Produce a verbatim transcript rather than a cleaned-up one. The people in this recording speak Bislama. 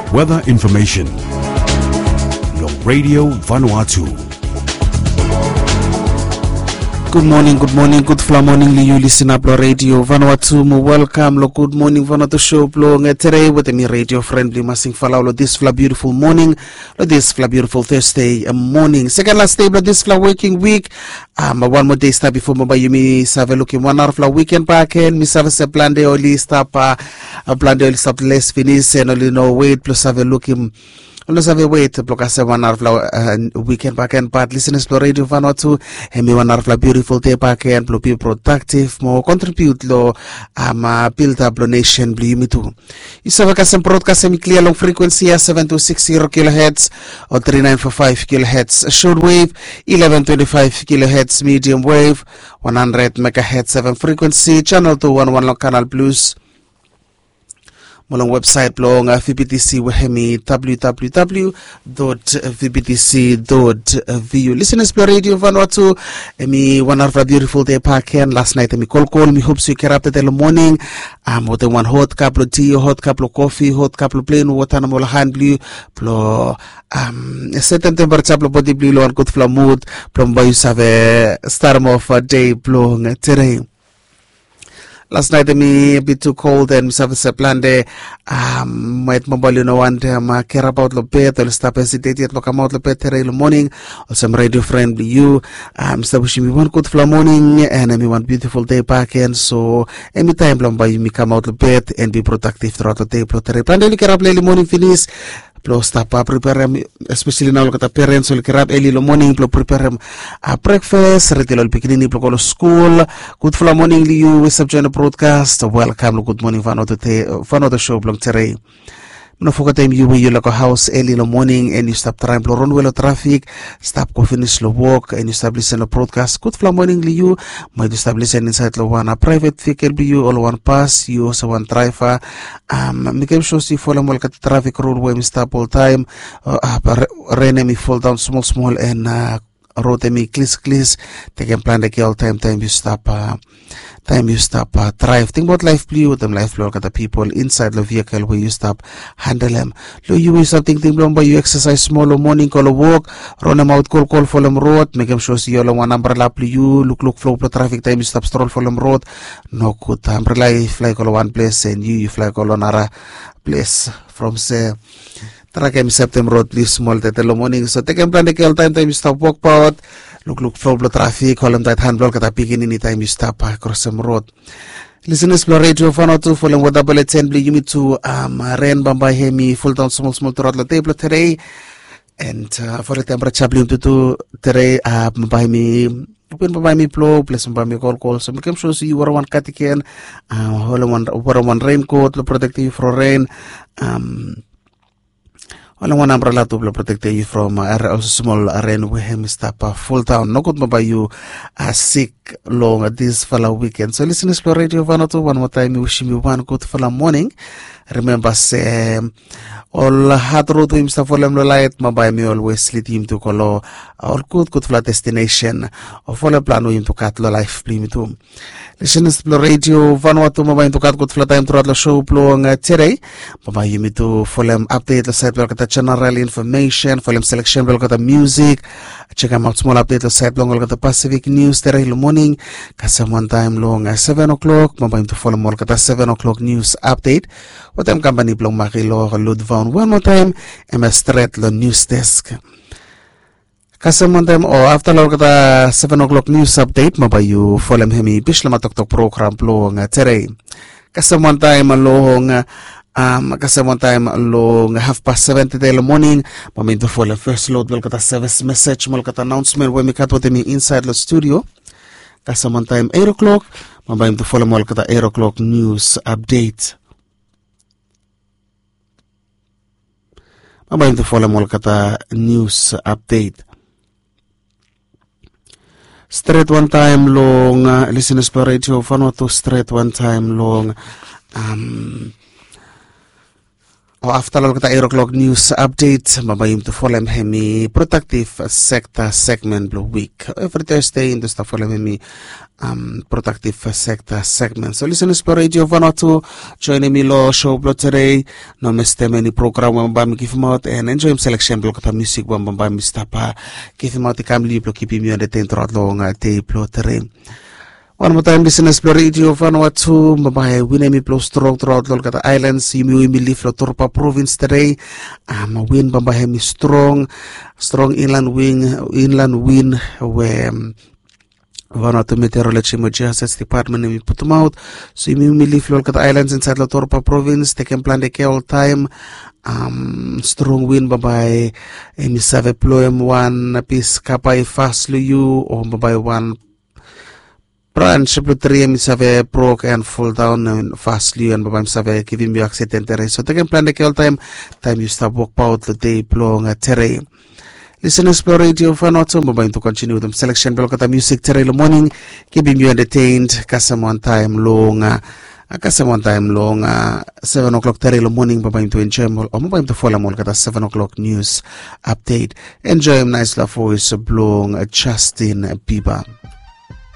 Weather information long Radio Vanuatu. Gud moning, gud moning, gudfala moning long yu lisinap long Radio Vanuatu. Mo welkam long Gud Moning Vanuatu show blong, eh, today wetem mi radio friend blong yu Masing Falau long disfala beautiful moning, long disfala beautiful Thursday, eh, moning, second last day blong disfala working week. Um, wan moa dei stap bifo bambae yumi save lukim wan narafala weekend bakegen. Mi save se plante oli stap, uh, plante oli stap les finis, and oli no wet blong save lukim, oli no save wet blong kasem wan narafala, uh, weekend bakegen. But listeners blong Radio Vanuatu, hemi wan narafala beautiful day bakegen blong be productive mo contribute long, um, uh, build up long nation blong yumi tu. Yu save kasem broadcast hemi klia long frequency ya, seven two six zero kilohertz o three nine four five kilohertz short wave, eleven twenty-five kilohertz medium wave, one hundred megahertz seven frequency, channel two one one long Canal Plus. Mo long website blong, uh, V B T C we hemi W W W dot V B T C dot V U. Listeners blong Radio Vanuatu, hemi wan narafala beautiful day bakegen. Last night hemi kolkol. Mi hope se yu get up tede long moning, um, wetem wan hot cup blong tea o hot cup blong coffee, hot cup blong plain water nomo long han blong yu, blong, um, setem temperature blong bodi blong yu long wan gudfala mood blong bambae yu save starem off, uh, day blong, uh, today. Last night hemi a bit too cold and mi save se plante, um, maet bambae oli no wantem, uh, kerabaot long bed, oli stap hesitate yet blong kamaot long bed today long moning. Olsem radio friend blong yu, um, mi stap wishim yu wan gudfala moning and hemi wan beautiful day bakegen. So hemi taem blong bambae yumi kamaot long bed and be productive throughout the day blong today. Plante oli kerap long early moning finis blong stap, uh, preperem, especially nao olgeta parents oli kerap early long moning blong preperem, uh, breakfast, redi long ol pikinini blong go long skul. Gudfala moning long yu we yu stap join long broadcast. Welkam long Gud Moning Vanuatu, Vanuatu show blong today. No fogetem yu we yu laek go haos early long moning and yu stap traem blong ronwe long trafik, stap go finis long wok and yu stap lisen long broadcast. Gudfala moning long yu. Maet yu stap lisen insaed long wan, uh, private vehicle blong yu o long wan bus, yu olsem wan draeva, um, mekem sua se yu folem olgeta trafik rul we hemi stap oltaem. Uh, uh, ren hemi foldaon smol smol and, uh, rod hemi klis klis. Tekem plante kea oltaem taem yu stap, uh, taem yu stap, uh, draev. Tingbaot laef blong yu wetem laef blong olgeta pipol insaed long vehicle we yu stap handelem. Long yu we yu stap tingting blong bambae yu exercise smol long moning, go long wok, ronemaot kolkol, folem rod, mekem sua se yu holem wan ambrela blong yu, lukluk flo blong trafik taem yu stap strol folem rod. Nogud, ambrela i flae go long wan ples and yu, yu flae go long nara ples from se. Trae kem septem rod blong yu smol tede long moning. So tekem plante kea oltaem taem yu stap wokbaot, lukluk flo blong trafik, holem taet han blong olgeta pikinini taem yu stap, uh, krosem rod. Listeners blong Radio Vanuatu, folem weather bulletin blong yumi tu, um, ren bambae hemi foldaon smol smol truaot long dei blong today. And, uh, folem temperature blong yumi tu today, uh, bambae hemi, win bambae hemi blo, ples bambae hemi kolkol. So mekem sua se yu werem wan cardigan, uh, holem wan, werem wan raincoat blong protektem yu from ren. Um, holem wan ambrela tu blong protektem yu from, uh, olsem smol ren we hemi stap, uh, foldaon. Nogud bambae yu, uh, sik long disfala weekend. So listeners blong Radio Vanuatu, wan moa taem mi wishim yu wan gudfala moning. Rimemba se, um, ol had rod we yumi stap folem long laef, bambae hemi olwes lidim yumi tu go long, uh, ol gud, gudfala destination o folem plan we yumi tu gat long laef blong yumi tu. Listeners blong Radio Vanuatu, bambae yumi tu gat gudfala taem truaot long show blong, uh, today. Bambae yumi tu folem update long saed blong olgeta general information, folem selection blong olgeta music, jekemaot smol update long saed blong olgeta Pacific news today long moning. Kasem wan taem long, uh, seven o'clock, bambae yumi tu folem olgeta seven o'clock news update wetem kampani blong Makilo Ludvaun. Wan moa taem, hemia stret long news desk. Kasem wan taem o afta long olgeta seven o'clock news update, bambae yu folem hemi Bislama Toktok program blong, uh, today. Kasem wan taem long, uh, um, kasem wan taem long hafpas seven tede long moning, bambae yumi tu folem first load blong olgeta service message mo olgeta announcement we mi gat wetem mi insaed long studio. Kasem wan taem eight o'clock, bambae yumi tu folem olgeta eight o'clock news update. Bambae yumi tu folem olgeta news update. Stret wan taem long, uh, listeners blong Radio Vanuatu, stret wan taem long, um, O afta long olgeta eight o'clock news update, bambae yumi tu folem hemi productive sector segment blong wik. Evri Thursday yumi tu stap folem hemi um, productive sector segment. So listeners blong Radio Vanuatu, joinim mi long show blong today. No mistem eni program we bambae mi givimaot, and enjoyim selection blong olgeta music we bambae mi stap givimaot i kam long yu blong kipim yu entertain truaot long dei blong today. Wan moa taem, listeners blong Radio Vanuatu, bambae win hemi blo strong truaot long olgeta islands. Yumi win mi lif long Torba province today. Um, win bambae hemi strong, strong inland win, inland win we um, Vanuatu Meteorology mo Geoscience Department hemi putumaot. So yumi win mi lif long olgeta islands insaed long Torba province, tekem plante kea oltaem. Um, strong win bambae hemi save bloem wan pis kapa i fas long yu, o bambae wan branch blong tri hemi save brok and fall down and fas long yu, and bambae hemi save givim yu accident today. So tekem plante kea oltaem, taem yu stap wokbaot long dei blong today. Listeners blong Radio Vanuatu, bambae yumi tu continue wetem selection blong olgeta music today long morning. Kipim yu entertained, kasem wan taem long kasem wan taem long seven o'clock today long morning, bambae yumi tu enjoyim ol, o bambae yumi tu folem olgeta seven o'clock news update. Enjoyim naes love voice blong Justin Bieber.